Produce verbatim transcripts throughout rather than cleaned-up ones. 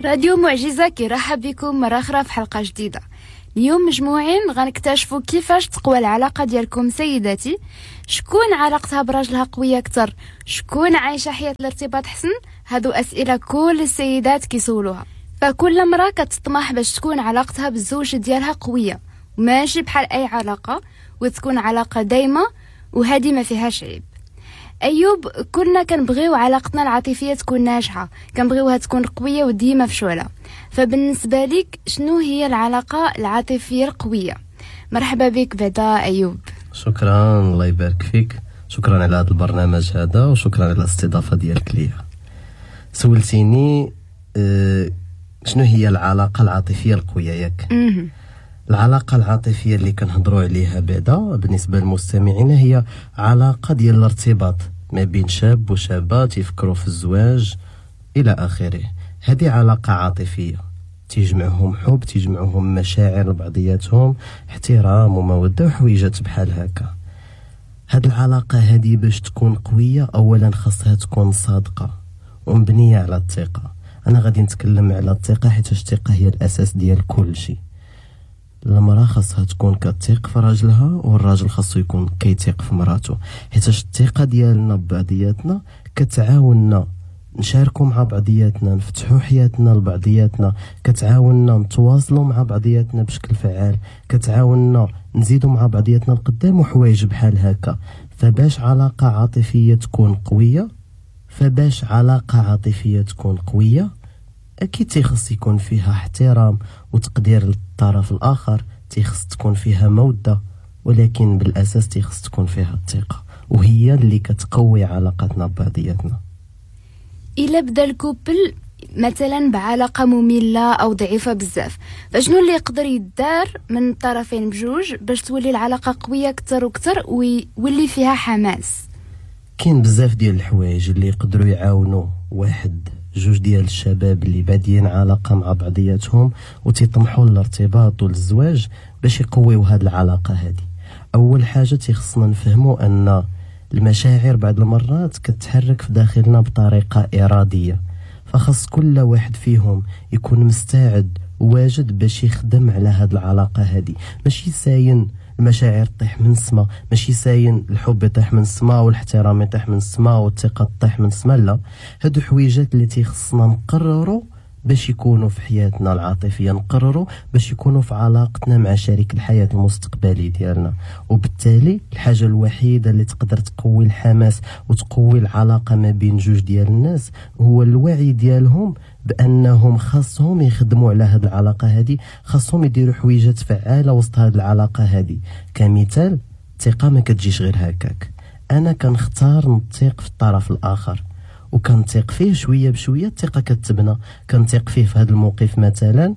راديو معجزة كيرحب بكم مرة أخرى في حلقة جديدة. اليوم مجموعين غنكتشفوا كيفاش تقوى العلاقة ديالكم سيداتي، شكون علاقتها براجلها قوية أكثر، شكون عايشة حياة الارتباط حسن. هادو أسئلة كل السيدات كيسولوها، فكل مرة كتطمح باش تكون علاقتها بالزوج ديالها قوية وماشي بحال أي علاقة، وتكون علاقة دايمة وهذه ما فيهاش عيب. أيوب، كلنا كنبغيو علاقتنا العاطفية تكون ناجحة، كنبغيوها تكون قوية وديما في شعلة. فبالنسبة لك شنو هي العلاقة العاطفية القوية؟ مرحبا بك بعدا أيوب. شكرا، الله يبارك فيك. شكرا على هذا البرنامج هذا وشكرا على الاستضافة ديالك ليا. سولتيني أه شنو هي العلاقة العاطفية القوية، ياك؟ العلاقة العاطفية اللي كنهضروا عليها بعدا بالنسبة للمستمعين هي علاقة ديال الارتباط ما بين شاب وشابة تيفكروا في الزواج إلى آخره. هذه علاقة عاطفية تيجمعهم حب، تيجمعهم مشاعر لبعضياتهم، احترام ومودة وحويجات بحال هكا. هاد العلاقة هذه باش تكون قوية أولا خاصها تكون صادقة ومبنية على الثقة. أنا غادي نتكلم على الثقة حيت الثقة هي الأساس ديال كل شيء. المرأة خاصها تكون كتثق في راجلها والراجل خاصو يكون كيثق في مراته، حيت الثقة ديالنا ببعضياتنا كتعاوننا نشاركوا مع بعضياتنا، نفتحوا حياتنا لبعضياتنا، كتعاوننا نتواصلوا مع بعضياتنا بشكل فعال، كتعاوننا نزيدوا مع بعضياتنا القدام وحوايج بحال هكا. فباش علاقة عاطفية تكون قوية فباش علاقة عاطفية تكون قوية أكيد تيخص يكون فيها احترام وتقدير للطرف الآخر، تيخص تكون فيها مودة، ولكن بالأساس تيخص تكون فيها الثقة، وهي اللي كتقوي علاقتنا ببعضياتنا. إلا بدا ال couple مثلا بعلاقة مملة أو ضعيفة بزاف، فشنو اللي يقدر يدار من الطرفين بجوج باش تولي العلاقة قوية أكثر وأكثر ويولي فيها حماس؟ كاين بزاف ديال الحوايج اللي يقدروا يعاونوا واحد جوج ديال الشباب اللي بادين علاقة مع بعضياتهم وتيطمحوا للارتباط والزواج باش يقويوا هاد العلاقة هذه. أول حاجة تيخصنا نفهموا أن المشاعر بعض المرات كتحرك في داخلنا بطريقة إرادية، فخص كل واحد فيهم يكون مستعد وواجد باش يخدم على هاد العلاقة هذه. ماشي ساين المشاعر تطيح من السما، ماشي ساين الحب يطيح من السما والاحترام يطيح من السما والثقة تطيح من السما، لا. هادو حويجات اللي تيخصنا نقرروا باش يكونوا في حياتنا العاطفية، نقرروا باش يكونوا في علاقتنا مع شريك الحياة المستقبلي ديالنا. وبالتالي الحاجة الوحيدة اللي تقدر تقوي الحماس وتقوي العلاقة ما بين جوج ديال الناس هو الوعي ديالهم بأنهم خاصهم يخدموا على هاد العلاقة هذه، خاصهم يديروا حويجات فعالة وسط هاد العلاقة هذه. كمثال، الثقة ما كتجيش غير هكاك. أنا كنختار نثق في الطرف الآخر وكنثق فيه شوية بشوية، الثقة كتبنى. كنثق فيه في هذا الموقف مثلا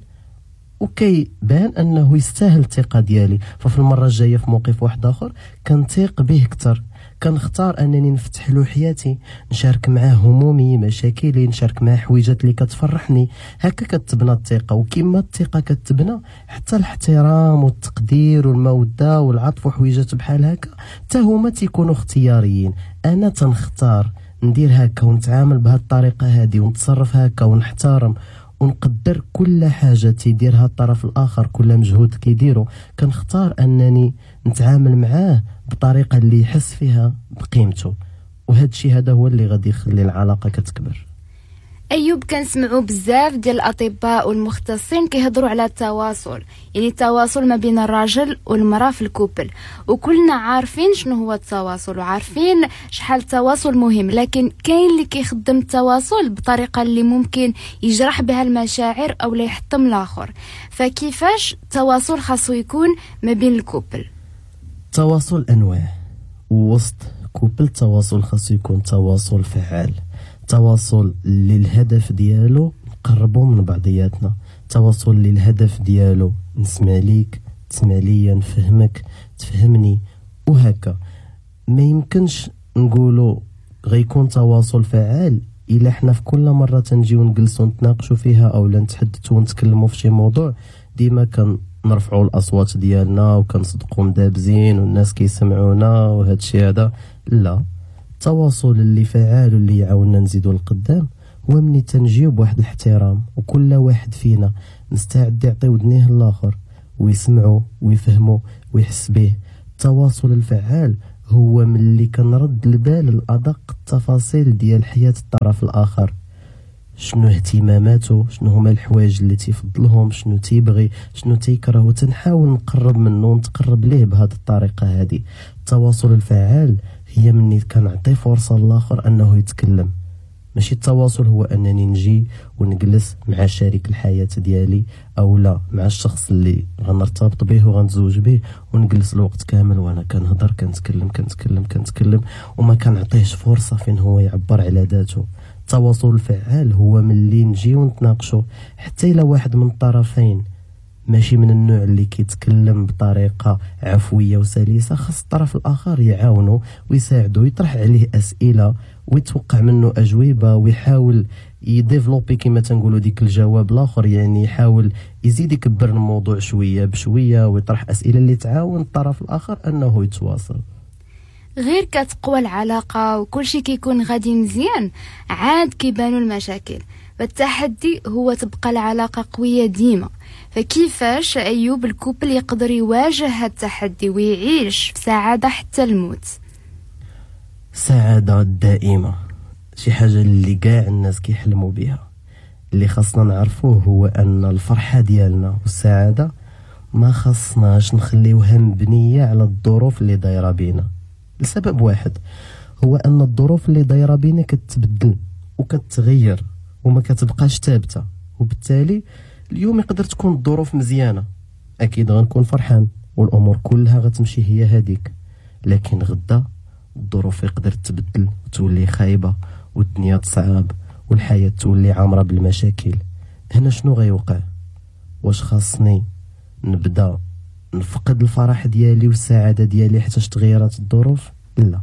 وكيبان انه يستاهل الثقة ديالي، ففي المرة الجاية في موقف واحد اخر كنثق به اكثر. كنختار انني نفتح له حياتي، نشارك معاه همومي، مشاكلي، نشارك معاه حويجات اللي كتفرحني. هكا كتبنى الثقة. وكما الثقة كتبنى حتى الاحترام والتقدير والمودة والعطف وحويجات بحال هكا حتى هما تيكونوا اختياريين. انا تنختار ندير هكا ونتعامل بهذه الطريقة هذه ونتصرف هكا ونحترم ونقدر كل حاجة تيديرها الطرف الآخر، كل مجهود كيديرو كنختار أنني نتعامل معاه بطريقة اللي يحس فيها بقيمته. وهذا الشيء هذا هو اللي غادي يخلي العلاقة كتكبر. أيوب، كنسمعوا بزاف ديال الأطباء والمختصين كيهضروا على التواصل، يعني التواصل ما بين الراجل والمرأة في ال couple، وكلنا عارفين شنو هو التواصل وعارفين شحال التواصل مهم، لكن كاين اللي كيخدم التواصل بطريقة اللي ممكن يجرح بها المشاعر أو لا يحطم الآخر. فكيفاش التواصل خاصو يكون ما بين ال couple؟ التواصل أنواع، ووسط couple التواصل خاصو يكون تواصل فعال، تواصل اللي الهدف ديالو نقربوا من بعضياتنا، تواصل اللي الهدف ديالو نسمع ليك، تسمع ليا، نفهمك، تفهمني، وهكا. ما يمكنش نقولوا غيكون تواصل فعال الا حنا في كل مرة تنجيو نجلسوا نتناقشوا فيها او لا نتحدثوا ونتكلموا في شي موضوع ديما كنرفعوا الاصوات ديالنا وكنصدقوا مدابزين والناس كيسمعونا وهذا الشيء هذا. لا، التواصل اللي فعال واللي يعاوننا نزيدوا للقدام هو ملي تنجيو بواحد الاحترام، وكل واحد فينا مستعد يعطي ودنيه للاخر ويسمعو ويفهمو ويحس به. التواصل الفعال هو ملي كنرد البال لأدق التفاصيل ديال حياة الطرف الآخر، شنو اهتماماته، شنو هما الحوايج اللي تيفضلهم، شنو تيبغي، شنو تيكره، وتنحاول نقرب منه ونتقرب ليه بهذه الطريقة هذه. التواصل الفعال هي ملي كنعطي فرصة للآخر أنه يتكلم. ماشي التواصل هو أنني نجي ونجلس مع شريك الحياة ديالي أو لا مع الشخص اللي غنرتبط به وغنتزوج به ونجلس الوقت كامل وأنا كنهضر كنتكلم كنتكلم كنتكلم وما كنعطيهش فرصة فين هو يعبر على ذاته. التواصل الفعال هو ملي نجي ونتناقشوا، حتى إلا واحد من الطرفين ماشي من النوع اللي كيتكلم بطريقة عفوية وسلسة، خاص الطرف الآخر يعاونه ويساعده، يطرح عليه أسئلة ويتوقع منه أجوبة، ويحاول يديفلوبي كما تنقولوا ديك الجواب الآخر، يعني يحاول يزيد يكبر الموضوع شوية بشوية ويطرح أسئلة اللي تعاون الطرف الآخر أنه يتواصل. غير كتقوى العلاقة وكل شيء كيكون غادي مزيان عاد كيبانوا المشاكل، فالتحدي هو تبقى العلاقة قوية ديما. فكيفاش أيوب ال couple يقدر يواجه هذا التحدي ويعيش في سعادة حتى الموت؟ السعادة الدائمة شي حاجة اللي كاع الناس كيحلموا بها. اللي خاصنا نعرفوه هو أن الفرحة ديالنا والسعادة ما خاصناش نخليوها مبنية على الظروف اللي دايرة بينا، لسبب واحد هو أن الظروف اللي دايرة بينا كتبدل وكتغير وما كتبقاش ثابتة، وبالتالي اليوم يقدر تكون الظروف مزيانة، أكيد غنكون فرحان والأمور كلها غتمشي هي هذيك، لكن غدا الظروف يقدر تبدل وتولي خايبة والدنيا تصعب والحياة تولي عامرة بالمشاكل. هنا شنو غيوقع؟ واش خاصني نبدا نفقد الفرح ديالي والسعادة ديالي حتى تغيرات الظروف؟ لا.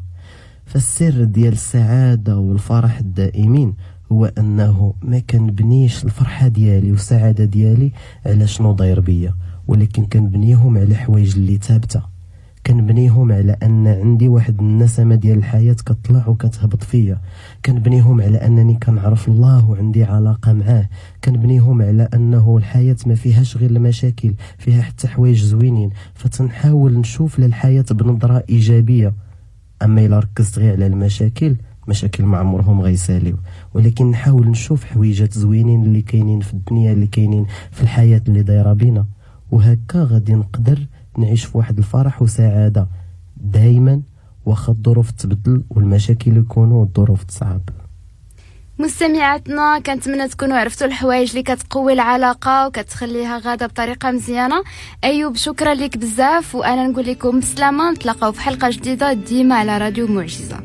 فالسر ديال السعادة والفرح الدائمين هو أنه ما كنبنيش الفرحة ديالي والسعادة ديالي على شنو داير بيا، ولكن كنبنيهم على حوايج اللي ثابتة، كنبنيهم على أن عندي واحد النسمة ديال الحياة كتطلع وكتهبط فيا، كنبنيهم على أنني كنعرف الله وعندي علاقة معاه، كنبنيهم على أنه الحياة ما فيهاش غير المشاكل، فيها حتى حوايج زوينين. فتنحاول نشوف للحياة بنظرة إيجابية. أما إلا ركزت غير على المشاكل، مشاكل ما عمرهم غيساليو، ولكن نحاول نشوف حويجات زوينين اللي كاينين في الدنيا، اللي كاينين في الحياة اللي دايرة بينا، وهكا غادي نقدر نعيش في واحد الفرح وسعادة دايما واخا الظروف تبدل والمشاكل يكونوا والظروف تصعب. مستمعاتنا كنتمنى تكونوا عرفتوا الحوايج اللي كتقوي العلاقة وكتخليها غاده بطريقة مزيانه. ايوب شكرا لك بزاف، وانا نقول لكم بسلامه، نتلاقاو في حلقة جديدة ديما على راديو معجزه.